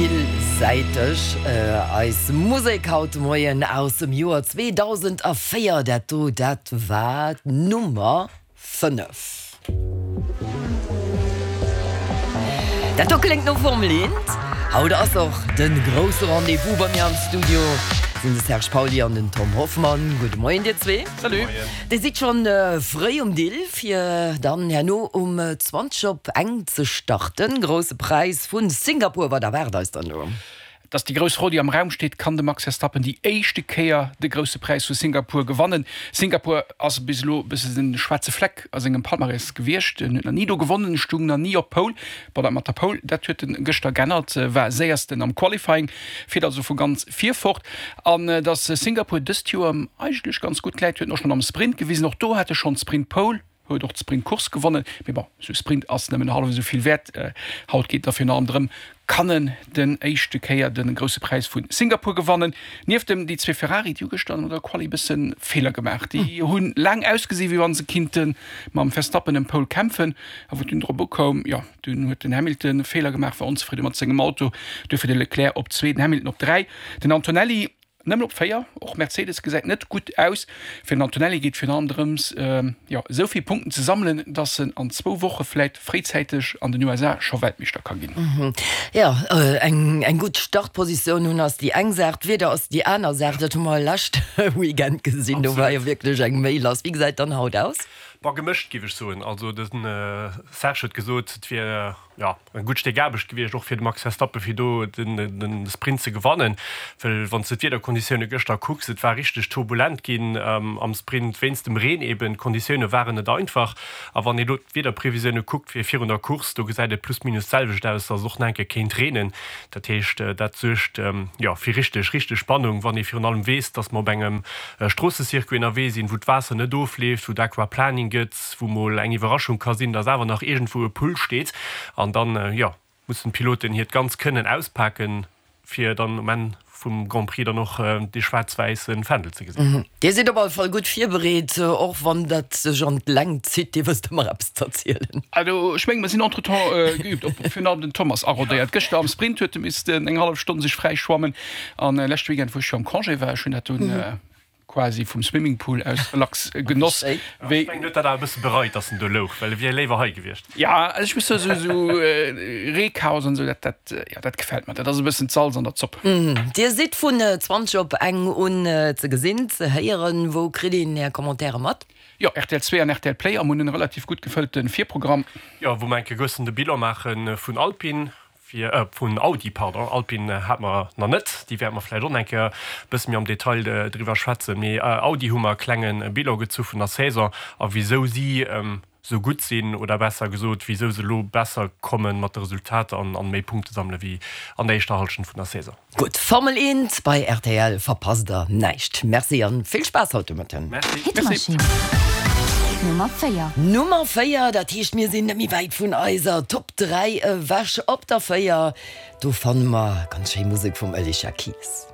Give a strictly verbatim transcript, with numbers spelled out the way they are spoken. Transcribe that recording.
Villsäiteg eis Musek haut de Moien aus dem Joer zweedausendvéier. Dat do, dat war d'Nummer fënnef. Dat do kléngt no Formel eent. Haut ass och de grousse Rendez-vous. Bei mir am Studio sinn de Serge Pauly an den Tom Hoffmann. Gudde Moien dir zwee. Salut. Dir sidd schonn fréi um Dill fir dann herno um zwanzeg op eng ze starten. Grousse Präis vu Singapur, wat erwaart eis dann do? Et ass déi grouss Fro, déi am Raum steet, Kann de Max Verstappen déi éischte Kéier de Grousse Präis vu Singapur gewannen? Singapur ass bis elo e bësse de schwaarze Fleck a sengem Palmarès gewiescht. En huet nach ni do gewonnen, stung nach ni op Pole. Bon, dat mat der Pole, dat huet en gëschter g'ännert, war Séiersten am Qualifying, fiert also vu ganz vir fort. An datt Singapur dëst Joer em eigentlech ganz gutt läit, huet en och schonn am Sprint gewisen. Och do hat e schonn d'Sprint Pole. Huet och d'Sprint-Course gewonnen, mee bon, esou e Sprint ass nëmmen hallef esou vill wäert. Haut geet et da virun allem drëm, kann en den éischte Kéier de Grousse Präis vu Singapur gewannen. Nieft em déi zwee Ferrari, déi hu gëschter an der Quali e bësse Feeler gemaach. Déi hu laang ausgesi wéi wa se kinnte mam Verstappen ëm Pole kämpfen, a wou et dunn drop ukoum, jo, dunn huet den Hamilton Feeler gemaach, war onzefridde mat sengem Auto, duerfir de Leclerc op zwee, den Hamilton op dräi, den Antonelli Nëmmen op véier. Och Mercedes gesäit net gutt aus. Fir den Antonelli geet virun allem drëms, jo, esou vill Punkten ze sammelen, datt en an zwou Woche vläit fréizäiteg an den U S A scho Weltmeeschter ka ginn. Jo, eng eng gutt Startpositioun hunn ass déi eng Saach, d'Wieder ass déi aner Saach. Dat hu mer lescht Weekend gesinn, do war jo wierklech eng Méi lass. Wéi gesäit dann haut aus? Bon, gemëscht géif ech soen. Also de Serge huet gesot, et wier jo e gutt Stéck Aarbecht gewiescht, och fir de Max Verstappen, fir do de Sprint ze gewannen. Well wann s de d'Wiederkonditioune gëschter kucks, et war richteg turbulent ginn am Sprint wéinst dem Reen eben. D'Konditioune waren net einfach. A wann ee lo d'Wiederprevisioune kuckt fir virun der Course, do gesäit et plus minus d'selwecht aus, datt et och nach eng Kéier kéint reenen. Dat heescht, dat suergt jo fir richteg, richteg Spannung, wann ee virun allem weess, datt mer op engem Stroossecircuit ënnerwee sinn, wou d'Waasser net ofleeft, wou et Aquaplaning gëtt, wou mol eng Iwwerraschung ka sinn, dass awer nach iergendwou e Pull steet an dann, jo, mussen d'Piloten hiert ganz Kënnen auspaken, fir dann um Enn vum Grand Prix dann och dee schwaarz-wäisse Fändel ze gesinn. Dir sidd op alle Fall gutt virbereet, och wann dat sech an d'Längt zitt. Dir wësst ëmmer eppes z'erzielen. Also ech mengen, mer sinn entretemps geübt, op virun allem den Thomas arodéiert. Gëschter am Sprint huet e missten eng hallef Stonn sech fräi schwammen an leschte Weekend, wou ech jo am Congé war, ech hunn dat dunn quasi vum Swimmingpool aus relax genoss. Ech mengen, huet dat awer e bësse bereit, dass en do louch, well e wier léiwer hei gewiescht. Ja, also ech muss soen, esou esou Reechaos an esou, dat dat jo dat gefält mer. Dat ass e bëssen d'Salz an der Zopp. Dir sidd vun zwanzeg op eng un ze gesinn, ze héieren. Wou kritt een Är Commentaire mat? Jo, rtl zwee an rtl Play am hunn en relativ gutt gefëllte Virprogramm. Jo, wou mer enke gëssen de Bilan maache vun Alpine. Fir, vun Audi, pardon, Alpine hate mer nach net, déi wäerte mer vläicht och nach eng Kéier e bësse méi am Detail driwwer schwätzen, mee Audi hu mer e klenge Bilan gezu vun der Saison a wisou si esou gutt sinn, oder besser gesot, wisou se elo besser komme mat de Resultater an méi Punkte sammele wéi an der éischter Hallschent vun der Saison. Gutt, Formel eent bei rtl, verpasst der näischt. Merci an vill Spaass haut de Mëtten. Merci. Hitmaschinn Nummer véier. Nummer véier, dat heescht mir sinn net méi wäit vun eiser Top dräi ewech. Op der véier, do fanne mer ganz schéi Musek vum Alicia Keys.